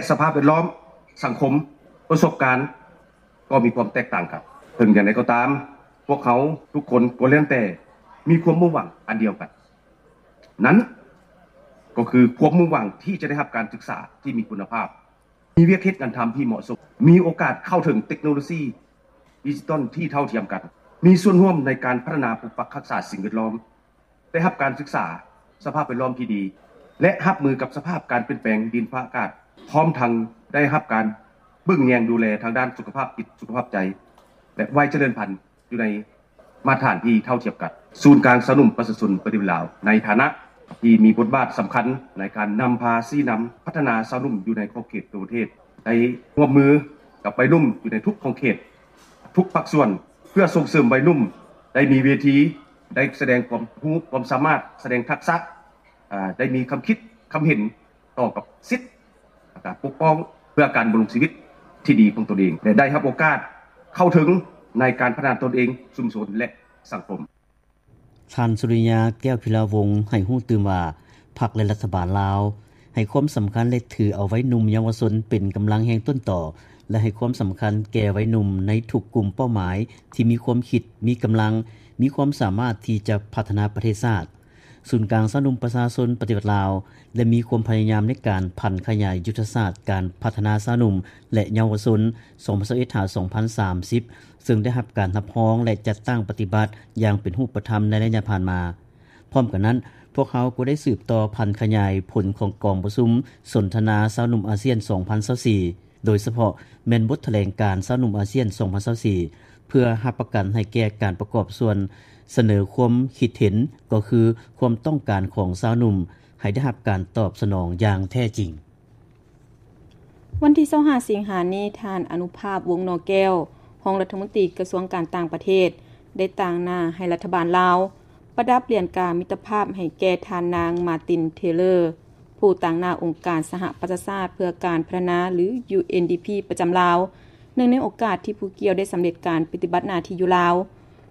ສະພາບແວດລ້ອມ, ສັງຄົມ, ປະສົບການ ກໍມີຄວາມແຕກຕ່າງກັນ. ເຖິງຢ່າງໃດກໍຕາມ, ພວກເຮົາທຸກຄົນກໍລ້ວນແຕ່ມີຄວາມມຸ່ງຫວັງອັນດຽວກັນ, ນັ້ນກໍຄືຄວາມມຸ່ງຫວັງທີ່ຈະໄດ້ຮັບການສຶກສາທີ່ມີຄຸນນະພາບ, ມີວຽກເຮັດງານທຳທີ່ເໝາະສົມ, ມີໂອກາດເຂົ້າເຖິງເຕັກໂນໂລຊີດິຈິຕອນທີ່ເທົ່າທຽມກັນ, ມີສ່ວນຮ່ວມໃນການພັດທະນາປົກປັກຮັກສາສິ່ງແວດລ້ອມ, ໄດ້ຮັບການສຶກສາສະພາບແວດລ້ອມທີ່ດີ ແລະ ຮັບມືກັບສະພາບການປ່ຽນແປງດິນຟ້າອາກາດ, ພ້ອມທັງໄດ້ຮັບການເບິ່ງແຍງດູແລທາງດ້ານສຸຂະພາບຈິດ, ສຸຂະພາບໃຈ ແລະ ໄວຈະເລີນພັນຢູ່ໃນມາດຕະຖານທີ່ເທົ່າທຽມກັນ. ສູນກາງຊາວໜຸ່ມປະຊາຊົນປະຕິວັດລາວ ໃນຖານະທີ່ມີບົດບາດສຳຄັນໃນການນຳພາຊີ້ນຳພັດທະນາຊາວໜຸ່ມຢູ່ໃນຂອບເຂດທົ່ວປະເທດ ໄດ້ຮ່ວມມືກັບໄວໜຸ່ມຢູ່ໃນທຸກຂອບເຂດ, ທຸກພາກສ່ວນ ເພື່ອສົ່ງເສີມໄວໜຸ່ມໄດ້ມີເວທີ, ໄດ້ສະແດງຄວາມຮູ້ຄວາມສາມາດ, ສະແດງທັກສະ, ອາ, ໄດ້ມີຄຳຄິດຄຳເຫັນຕໍ່ກັບສິດ ແລະ ການປົກປ້ອງເພື່ອການດຳລົງຊີວິດທີ່ດີຂອງຕົນເອງ ແລະ ໄດ້ຮັບໂອກາດເຂົ້າເຖິງໃນການພັດທະນາຕົນເອງ, ຊຸມຊົນ ແລະ ສັງຄົມ. ທ່ານ ສຸລິຍາ ແກ້ວພິລາວົງ ໃຫ້ຮູ້ຕື່ມວ່າ ພັກ ແລະ ລັດຖະບານລາວ ໃຫ້ຄວາມສຳຄັນ ແລະ ຖືເອົາໄວໜຸ່ມເຍົາວະຊົນເປັນກຳລັງແຮງຕົ້ນຕໍ ແລະ ໃຫ້ຄວາມສຳຄັນແກ່ໄວໜຸ່ມໃນທຸກກຸ່ມເປົ້າໝາຍທີ່ມີຄວາມຄິດ, ມີກຳລັງ, ມີຄວາມສາມາດທີ່ຈະພັດທະນາປະເທດຊາດ. ສູນກາງຊາວໜຸ່ມປະຊາຊົນປະຕິວັດລາວ ໄດ້ມີຄວາມພະຍາຍາມໃນການຜັນຂະຫຍາຍຍຸດທະສາດການພັດທະນາຊາວໜຸ່ມ ແລະ ເຍົາວະຊົນ ສອງພັນຊາວເອັດ ຫາ ສອງພັນສາມສິບ ເຊິ່ງໄດ້ຮັບການຮັບຮອງ ແລະ ຈັດຕັ້ງປະຕິບັດຢ່າງເປັນຮູບປະທຳໃນໄລຍະຜ່ານມາ. ພ້ອມກັນນັ້ນ, ພວກເຮົາກໍໄດ້ສືບຕໍ່ຜັນຂະຫຍາຍຜົນຂອງກອງປະຊຸມສົນທະນາຊາວໜຸ່ມອາຊຽນ ສອງພັນຊາວສີ່ ໂດຍສະເພາະແມ່ນບົດຖະແຫຼງການຊາວໜຸ່ມອາຊຽນ ສອງພັນຊາວສີ່ ເພື່ອຮັບປະກັນໃຫ້ແກ່ການປະກອບສ່ວນສະເໜີຄວາມຄິດເຫັນ, ກໍຄືຄວາມຕ້ອງການຂອງຊາວໜຸ່ມ ໃຫ້ໄດ້ຮັບການຕອບສະໜອງຢ່າງແທ້ຈິງ. ວັນທີຊາວຫ້າ ສິງຫານີ້, ທ່ານ ອະນຸພາບ ວົງໜໍ່ແກ້ວ, ຮອງລັດຖະມົນຕີກະຊວງການຕ່າງປະເທດ, ໄດ້ຕາງໜ້າໃຫ້ລັດຖະບານລາວ ປະດັບຫຼຽນກາມິດຕະພາບໃຫ້ແກ່ທ່ານນາງ ມາຕິນ ເທເລີ ຜູ້ຕາງໜ້າອົງການສະຫະປະຊາຊາດເພື່ອການພັດທະນາ ຫຼື ຢູເອັນດີພີ ປະຈຳລາວ, ເນື່ອງໃນໂອກາດທີ່ຜູ້ກ່ຽວໄດ້ສຳເລັດການປະຕິບັດໜ້າທີ່ຢູ່ລາວ,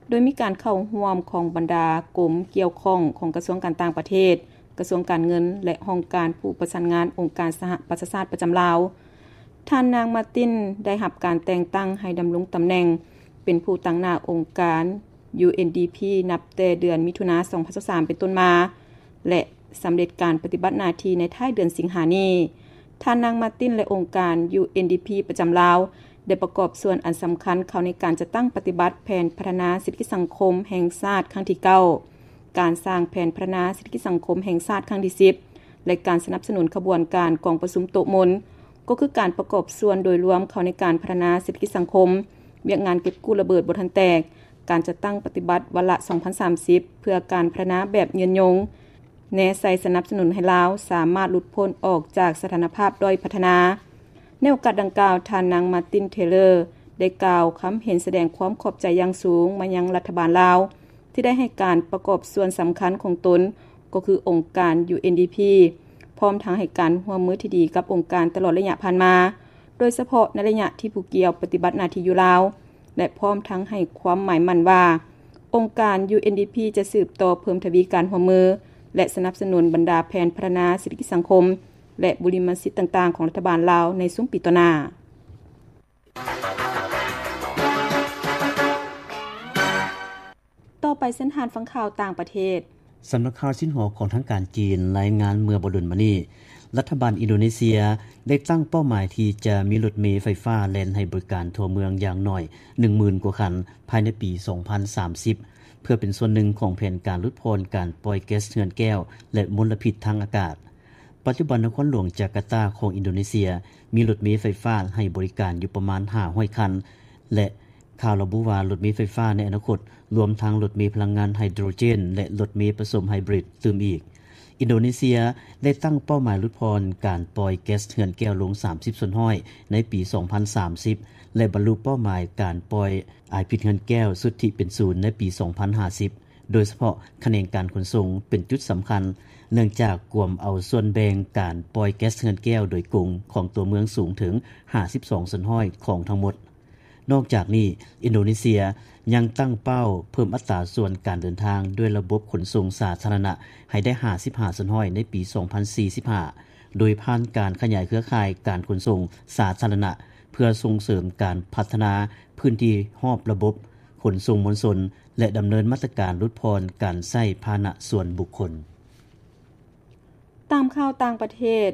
ໂດຍມີການເຂົ້າຮ່ວມຂອງບັນດາກົມກ່ຽວຂ້ອງຂອງກະຊວງການຕ່າງປະເທດ, ກະຊວງການເງິນ ແລະ ຫ້ອງການຜູ້ປະສານງານອົງການສະຫະປະຊາຊາດປະຈຳລາວ. ທ່ານນາງ ມາຕິນ ໄດ້ຮັບການແຕ່ງຕັ້ງໃຫ້ດຳລົງຕຳແໜ່ງເປັນຜູ້ຕາງໜ້າອົງການ ຢູເອັນດີພີ ນັບແຕ່ເດືອນມິຖຸນາ ສອງພັນຊາວສາມ ເປັນຕົ້ນມາ ແລະ ສຳເລັດການປະຕິບັດໜ້າທີ່ໃນທ້າຍເດືອນສິງຫານີ້. ທ່ານນາງ ມາຕິນ ແລະ ອົງການ ຢູເອັນດີພີ ປະຈຳລາວ ໄດ້ປະກອບສ່ວນອັນສຳຄັນເຂົ້າໃນການຈັດຕັ້ງປະຕິບັດແຜນພັດທະນາເສດຖະກິດສັງຄົມແຫ່ງຊາດຄັ້ງທີເກົ້າ, ການສ້າງແຜນພັດທະນາເສດຖະກິດສັງຄົມແຫ່ງຊາດຄັ້ງທີສິບ ແລະ ການສະໜັບສະໜູນຂະບວນການກອງປະຊຸມໂຕະມົນ, ກໍຄືການປະກອບສ່ວນໂດຍລວມເຂົ້າໃນການພັດທະນາເສດຖະກິດສັງຄົມ, ວຽກງານເກັບກູ້ລະເບີດບໍ່ທັນແຕກ, ການຈັດຕັ້ງປະຕິບັດວາລະສອງພັນສາມສິບ ເພື່ອການພັດທະນາແບບຍືນຍົງ, ແນໃສ່ສະໜັບສະໜູນໃຫ້ລາວສາມາດຫຼຸດພົ້ນອອກຈາກສະຖານະພາບດ້ອຍພັດທະນາ. ໃນໂອກາດດັ່ງກ່າວ, ທ່ານນາງ ມາຕິນ ເທເລີ ໄດ້ກ່າວຄຳເຫັນສະແດງຄວາມຂອບໃຈຢ່າງສູງມາຍັງລັດຖະບານລາວ ທີ່ໄດ້ໃຫ້ການປະກອບສ່ວນສຳຄັນຂອງຕົນ ກໍຄືອົງການ ຢູເອັນດີພີ ພ້ອມທັງໃຫ້ການຮ່ວມມືທີ່ດີກັບອົງການຕະຫຼອດໄລຍະຜ່ານມາ, ໂດຍສະເພາະໃນໄລຍະທີ່ຜູ້ກ່ຽວປະຕິບັດໜ້າທີ່ຢູ່ລາວ ແລະ ພ້ອມທັງໃຫ້ຄວາມໝາຍໝັ້ນວ່າ ອົງການ ຢູເອັນດີພີ ຈະສືບຕໍ່ເພີ່ມທະວີການຮ່ວມມື ແລະ ສະໜັບສະໜູນບັນດາແຜນພັດທະນາເສດຖະກິດສັງຄົມ ແລະ ບຸລິມະສິດຕ່າງໆຂອງລັດຖະບານລາວໃນຊຸມປີຕໍ່ໜ້າ. ຕໍ່ໄປເຊີນທ່ານຟັງຂ່າວຕ່າງປະເທດ. ສຳນັກຂ່າວຊິນຫົວຂອງທາງການຈີນລາຍງານເມື່ອບໍ່ດົນມານີ້, ລັດຖະບານອິນໂດເນເຊຍໄດ້ຕັ້ງເປົ້າໝາຍທີ່ຈະມີລົດເມໄຟຟ້າແລ່ນໃຫ້ບໍລິການທົ່ວເມືອງຢ່າງໜ້ອຍໜຶ່ງໝື່ນກວ່າຄັນພາຍໃນປີສອງພັນສາມສິບ ເພື່ອເປັນສ່ວນໜຶ່ງຂອງແຜນການຫຼຸດຜ່ອນການປ່ອຍແກັສເຮືອນແກ້ວ ແລະ ມົນລະພິດທາງອາກາດ. ປັດຈຸບັນນະຄອນຫຼວງຈາກາຕາຂອງອິນໂດເນເຊຍມີລົດເມໄຟຟ້າໃຫ້ບໍລິການຢູ່ປະມານຫ້າຮ້ອຍຄັນ ແລະ ຂ່າວລະບຸວ່າລົດເມໄຟຟ້າໃນອະນາຄົດ ລວມທັງລົດເມພະລັງງານໄຮໂດຣເຈນ ແລະ ລົດເມປະສົມໄຮບຣິດຕື່ມອີກ. ອິນໂດເນເຊຍໄດ້ຕັ້ງເປົ້າໝາຍຫຼຸດຜ່ອນການປ່ອຍແກັສເຮືອນແກ້ວລົງສາມສິບສ່ວນຮ້ອຍໃນປີສອງພັນສາມສິບ ແລະ ບັນລຸເປົ້າໝາຍການປ່ອຍອາຍພິດເຮືອນແກ້ວສຸດທິເປັນສູນໃນປີສອງພັນຫ້າສິບ. ໂດຍສະເພາະຂະແໜງການຂົນສົ່ງເປັນຈຸດສຳຄັນ, ເນື່ອງຈາກກວມເອົາສ່ວນແບ່ງການປ່ອຍແກັສເຮືອນແກ້ວໂດຍກົງຂອງຕົວເມືອງສູງເຖິງຫ້າສິບສອງສ່ວນຮ້ອຍຂອງທັງໝົດ. ນອກຈາກນີ້, ອິນໂດເນເຊຍຍັງຕັ້ງເປົ້າເພີ່ມອັດຕາສ່ວນການເດີນທາງດ້ວຍລະບົບຂົນສົ່ງສາທາລະນະໃຫ້ໄດ້ຫ້າສິບຫ້າສ່ວນຮ້ອຍໃນປີສອງພັນສີ່ສິບຫ້າ, ໂດຍຜ່ານການຂະຫຍາຍເຄືອຂ່າຍການຂົນສົ່ງສາທາລະນະ ເພື່ອສົ່ງເສີມການພັດທະນາພື້ນທີ່ຮອບລະບົບຂົນສົ່ງມວນຊົນ ແລະ ດຳເນີນມາດຕະການຫຼຸດຜ່ອນການໃຊ້ພາຫະນະສ່ວນບຸກຄົນ. ຕາມຂ່າວຕ່າງປະເທດ,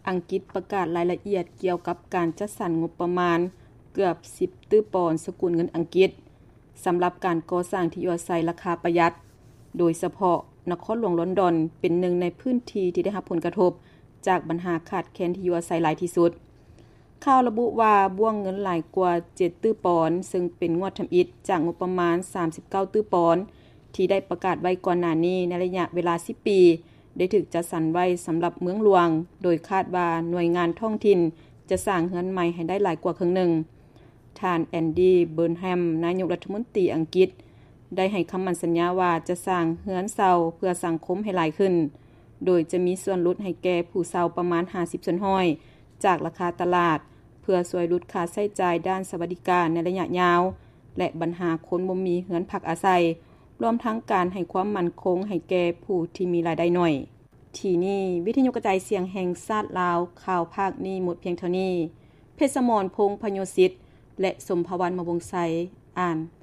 ອັງກິດປະກາດລາຍລະອຽດກ່ຽວກັບການຈັດສັນງົບປະມານເກືອບສິບຕື້ປອນສະກຸນເງິນອັງກິດ ສຳລັບການກໍ່ສ້າງທີ່ຢູ່ອາໄສລາຄາປະຢັດ, ໂດຍສະເພາະນະຄອນຫຼວງລອນດອນເປັນໜຶ່ງໃນພື້ນທີ່ທີ່ໄດ້ຮັບຜົນກະທົບຈາກບັນຫາຂາດແຄນທີ່ຢູ່ອາໄສຫຼາຍທີ່ສຸດ. ຂ່າວລະບຸວ່າ ບ້ວງເງິນຫຼາຍກວ່າເຈັດຕື້ປອນ, ເຊິ່ງເປັນງວດທຳອິດຈາກງົບປະມານສາມສິບເກົ້າຕື້ປອນ ທີ່ໄດ້ປະກາດໄວ້ກ່ອນໜ້ານີ້ໃນໄລຍະເວລາສິບປີ, ໄດ້ຖືກຈັດສັນໄວ້ສຳລັບເມືອງຫຼວງ, ໂດຍຄາດວ່າໜ່ວຍງານທ້ອງຖິ່ນຈະສ້າງເຮືອນໃໝ່ໃຫ້ໄດ້ຫຼາຍກວ່າເຄິ່ງໜຶ່ງ. ທ່ານ ແອນດີ ເບີນແຮມ ນາຍົກລັດຖະມົນຕີອັງກິດ ໄດ້ໃຫ້ຄຳໝັ້ນສັນຍາວ່າຈະສ້າງເຮືອນເຊົ່າເພື່ອສັງຄົມໃຫ້ຫຼາຍຂຶ້ນ, ໂດຍຈະມີສ່ວນຫຼຸດໃຫ້ແກ່ຜູ້ເຊົ່າປະມານຫ້າສິບສ່ວນຮ້ອຍຈາກລາຄາຕະຫຼາດ, ເພື່ອຊ່ວຍຫຼຸດຄ່າໃຊ້ຈ່າຍດ້ານສະຫວັດດີການໃນໄລຍະຍາວ ແລະ ບັນຫາຄົນບໍ່ມີເຮືອນພັກອາໄສ, ລວມທັງການໃຫ້ຄວາມໝັ້ນຄົງໃຫ້ແກ່ຜູ້ທີ່ມີລາຍໄດ້ໜ້ອຍ. ທີ່ນີ້ ວິທະຍຸກະຈາຍສຽງແຫ່ງຊາດລາວ, ຂ່າວພາກນີ້ໝົດພຽງເທົ່ານີ້. ເພັດສະໝອນ ພົງພະໂຍສິດ ແລະ ສົມພະວັນ ມະວົງໄຊ ອ່ານ.